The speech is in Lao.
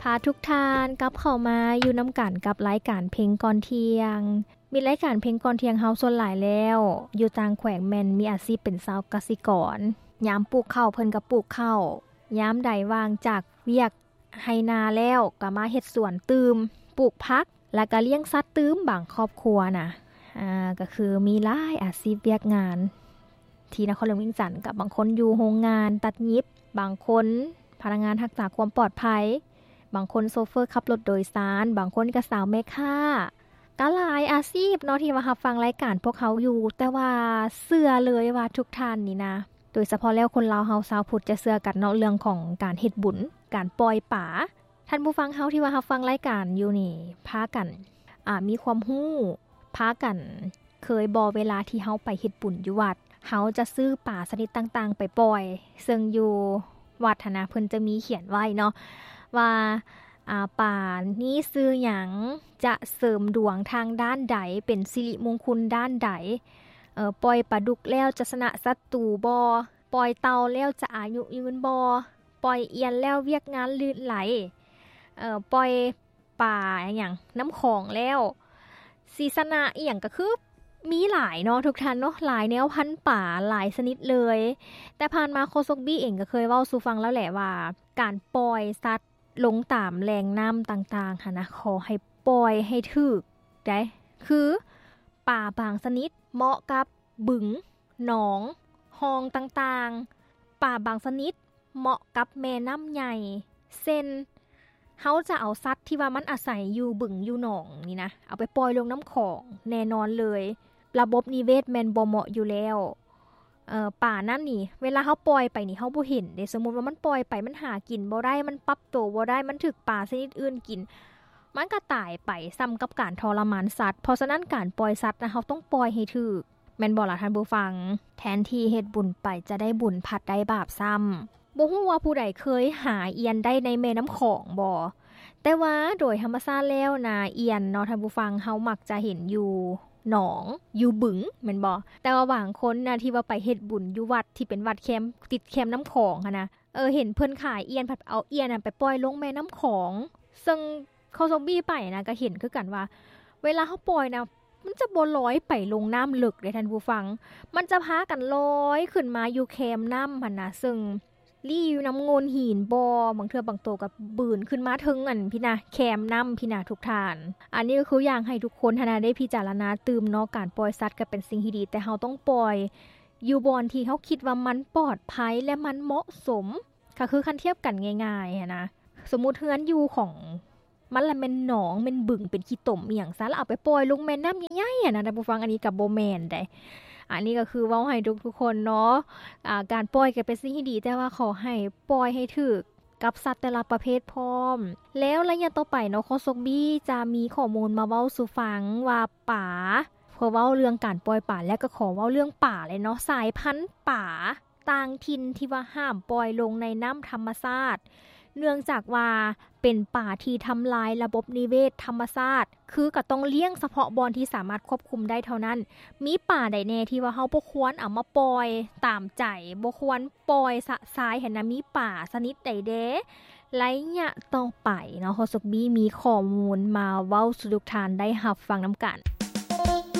ພາທຸກທ່ານກັບເຂົ້າມາຢູ່ນຳກັນກັບລາຍການເພງກ່ອນທ່ຽງ. ມີລາຍການເພງກ່ອນທ່ຽງເຮົາສ່ວນຫຼາຍແລ້ວ ຢູ່ຕ່າງແຂວງແມ່ນມີອາຊີບເປັນຊາວກະສິກອນ. ຍາມປູກເຂົ້າເພິ່ນກໍປູກເຂົ້າ, ຍາມໃດວ່າງຈາກວຽກໄຮ່ນາແລ້ວກໍມາເຮັດສວນຕື່ມ, ປູກຜັກ ແລ້ວກໍລ້ຽງສັດຕື່ມ. ບາງຄອບຄົວນະ ອາ ກໍຄືມີຫຼາຍອາຊີບວຽກງານ ທີ່ນະຄອນຫຼວງວຽງຈັນ ກັບບາງຄົນຢູ່ໂຮງງານຕັດຫຍິບ, ບາງຄົນພະນັກງານຮັກສາຄວາມປອດໄພ, ບາງຄົນໂຊເຟີຂັບລົດໂດຍສານ, ບາງຄົນກໍສາວແມ່ຄ້າ, ກໍຫຼາຍອາຊີບເນາະທີ່ວ່າຮັບຟັງລາຍການພວກເຮົາຢູ່. ແຕ່ວ່າເຊື່ອເລີຍວ່າທຸກທ່ານນີ້ນະ ໂດຍສະເພາະແລ້ວຄົນລາວເຮົາຊາວພຸດຈະເຊື່ອກັນເນາະ ເລື່ອງຂອງການເຮັດບຸນ, ການປ່ອຍປາ. ທ່ານຜູ້ຟັງເຮົາທີ່ວ່າຮັບຟັງລາຍການຢູ່ນີ້ ພາກັນ ອາ ມີຄວາມຮູ້, ພາກັນເຄີຍບໍ່ ເວລາທີ່ເຮົາໄປເຮັດບຸນຢູ່ວັດ ເຮົາຈະຊື້ປາຊະນິດຕ່າງໆໄປປ່ອຍ, ເຊິ່ງຢູ່ວັດຫັ້ນນະ ເພິ່ນຈະມີຂຽນໄວ້ເນາະວ່າ ອາ ປານີ້ຊື່ຫຍັງ, ຈະເສີມດວງທາງດ້ານໃດ, ເປັນສິລິມຸງຄຸນດ້ານໃດ, ເອີ ປ່ອຍປາດຸກແລ້ວຈະຊະນະສັດຕູບໍ່, ປ່ອຍເຕົ່າແລ້ວຈະອາຍຸຍືນບໍ່, ປ່ອຍອຽນແລ້ວວຽກງານລື່ນໄຫຼ, ເອີ ປ່ອຍປາຫຍັງ ນ້ຳຂອງແລ້ວຊິຊະນະອີ່ຫຍັງ. ກໍຄືມີຫຼາຍເນາະທຸກທ່ານເນາະ, ຫຼາຍແນວພັນປາ ຫຼາຍຊະນິດເລີຍ. ແຕ່ຜ່ານມາໂຄສົກບີເອງກໍເຄີຍເວົ້າສູ່ຟັງແລ້ວແຫຼະວ່າ ການປ່ອຍສັດລົງຕາມແຫຼ່ງນ້ຳຕ່າງໆຫັ້ນນະ ຂໍໃຫ້ປ່ອຍໃຫ້ຖືກໃດ໋. ຄືປາບາງຊະນິດເໝາະກັບ ບຶງ, ໜອງ, ຮ່ອງຕ່າງໆ. ປາບາງຊະນິດເໝາະກັບແມ່ນ້ຳໃຫຍ່ ເຊັ່ນ ເຮົາຈະເອົາສັດທີ່ວ່າມັນອາໄສຢູ່ບຶງຢູ່ໜອງນີ້ນະ ເອົາໄປປ່ອຍລົງນ້ຳຂອງ ແນ່ນອນເລີຍ ລະບົບນິເວດແມ່ນບໍ່ເໝາະຢູ່ແລ້ວ. ເອີ ປານັ້ນນີ້ ເວລາເຮົາປ່ອຍໄປນີ້ ເຮົາບໍ່ເຫັນເດ້. ສົມມຸດວ່າມັນປ່ອຍໄປ ມັນຫາກິນບໍ່ໄດ້, ມັນປັບໂຕບໍ່ໄດ້, ມັນຖືກປາຊະນິດອື່ນກິນ, ມັນກໍຕາຍໄປ ສ່ຳກັບການທໍລະມານສັດ. ເພາະສະນັ້ນ ການປ່ອຍສັດນະ ເຮົາຕ້ອງປ່ອຍໃຫ້ຖືກ. ແມ່ນບໍ່ລະທ່ານຜູ້ຟັງ? ແທນທີ່ເຮັດບຸນໄປຈະໄດ້ບຸນ ພັດໄດ້ບາບຊ້ຳ. ບໍ່ຮູ້ວ່າຜູ້ໃດເຄີຍຫາອຽນໄດ້ໃນແມ່ນ້ຳຂອງບໍ່? ແຕ່ວ່າໂດຍທຳມະຊາດແລ້ວນະ ອຽນເນາະທ່ານຜູ້ຟັງ ເຮົາມັກຈະເຫັນຢູ່ໜອງ ຢູ່ບຶງ ແມ່ນບໍ່? ແຕ່ວ່າບາງຄົນນະ ທີ່ວ່າໄປເຮັດບຸນຢູ່ວັດທີ່ເປັນວັດແຄມ ຕິດແຄມນ້ຳຂອງຫັ້ນນະ ເອີ ເຫັນເພິ່ນຂາຍອຽນ ພັດເອົາອຽນນັ້ນໄປປ່ອຍລົງແມ່ນ້ຳຂອງ. ເຊິ່ງ ໂຄສົກບີໄປນະ ກໍເຫັນຄືກັນວ່າ ເວລາເຮົາປ່ອຍນະ ມັນຈະບໍ່ລອຍໄປລົງນ້ຳເລິກເດ້ທ່ານຜູ້ຟັງ, ມັນຈະພາກັນລອຍຂຶ້ນມາຢູ່ແຄມນ້ຳຫັ້ນນະ, ເຊິ່ງລີ້ຢູ່ນຳໂງ່ນຫີນບໍ່, ບາງເທື່ອບາງໂຕກໍບືນຂຶ້ນມາເທິງອັນພີ້ນະ ແຄມນ້ຳພີ້ນະທຸກທ່ານ. ອັນນີ້ກໍຄືຢາກໃຫ້ທຸກຄົນຫັ້ນນະ ໄດ້ພິຈາລະນາຕື່ມເນາະ, ການປ່ອຍສັດກໍເປັນສິ່ງທີ່ດີ, ແຕ່ເຮົາຕ້ອງປ່ອຍຢູ່ບ່ອນທີ່ເຮົາຄິດວ່າມັນປອດໄພ ແລະ ມັນເໝາະສົມ. ກໍຄືຄັນທຽບກັນງ່າຍໆຫັ້ນນະ, ສົມມຸດເຮືອນຢູ່ຂອງມັນລະແມ່ນໜອງ ແມ່ນບຶງ ເປັນຂີ້ຕົມອີ່ຫຍັງຊັ້ນ ລະເອົາໄປປ່ອຍລົງແມ່ນ້ຳໃຫຍ່ໆຫັ້ນນະທ່ານຜູ້ຟັງ, ອັນນີ້ກໍບໍ່ແມ່ນໃດ໋. ອັນນີ້ກໍຄືເວົ້າໃຫ້ທຸກໆຄົນເນາະ, ອາ ການປ່ອຍກໍເປັນສິ່ງທີ່ດີ, ແຕ່ວ່າຂໍໃຫ້ປ່ອຍໃຫ້ຖືກກັບສັດແຕ່ລະປະເພດພ້ອມ. ແລ້ວໄລຍະຕໍ່ໄປເນາະ, ໂຄສົກບີຈະມີຂໍ້ມູນມາເວົ້າສູ່ຟັງວ່າປາ, ພໍເວົ້າເລື່ອງການປ່ອຍປາແລ້ວ ກໍຂໍເວົ້າເລື່ອງປາເລີຍເນາະ, ສາຍພັນປາ ຕ່າງຖິ່ນທີ່ວ່າຫ້າມປ່ອຍລົງໃນນ້ຳທຳມະຊາດ, ເນື່ອງຈາກວ່າເປັນປາທີ່ທຳລາຍລະບົບນິເວດທຳມະຊາດ, ຄືກໍຕ້ອງລ້ຽງສະເພາະບ່ອນທີ່ສາມາດຄວບຄຸມໄດ້ເທົ່ານັ້ນ. ມີປາໃດແດ່ທີ່ວ່າເຮົາບໍ່ຄວນເອົາມາປ່ອຍຕາມໃຈ, ບໍ່ຄວນປ່ອຍຊະຊາຍຫັ້ນນະ? ມີປາຊະນິດໃດແດ່? ໄລຍະຕໍ່ໄປເນາະ, ໂຄສົກບີມີຂໍ້ມູນມາເວົ້າສູ່ທຸກທ່ານໄດ້ຮັບຟັງນຳກັນ.